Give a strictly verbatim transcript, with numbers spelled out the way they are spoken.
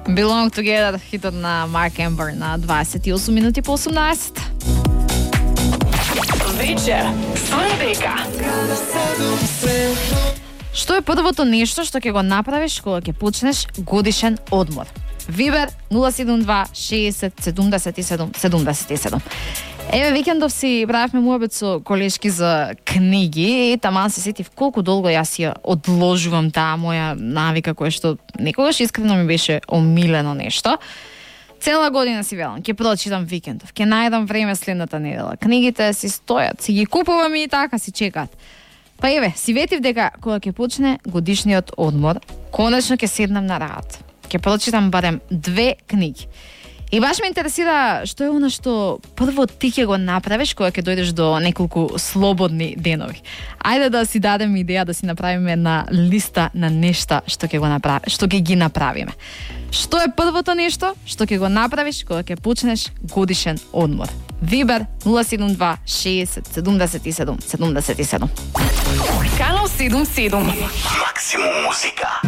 Belong Together, хитот на Марк Ембер на дваесет и осум минути по осумнаесет. Вечер со Ребека. Што е првото нешто што ќе го направиш кога ќе почнеш годишен одмор? Вибер нула седум два шеесет седумдесет и седум седумдесет и седум. Еве, викендов си правевме муабет со колешки за книги и таман се сетив колку долго јас ја одложувам таа моја навика која што некогаш искрено ми беше омилено нешто. Цела година си велам, ќе прочитам викендов, ќе најдам време следната недела. Книгите си стојат, си ги купувам и така си чекаат. Па еве, си ветив дека кога ќе почне годишниот одмор, конечно ќе седнам на работа. Ќе прочитам барем две книги. И баш ме интересира што е она што прво ти ќе го направиш кога ќе дојдеш до неколку слободни денови. Ајде да си дадеме идеја, да си направиме една листа на нешта што ќе го направи, што ќе ги направиме. Што е првото нешто што ќе го направиш кога ќе почнеш годишен одмор? Вибер нула седум два шеесет седумдесет и седум седумдесет и седум. Канал седум седум. Максимум музика.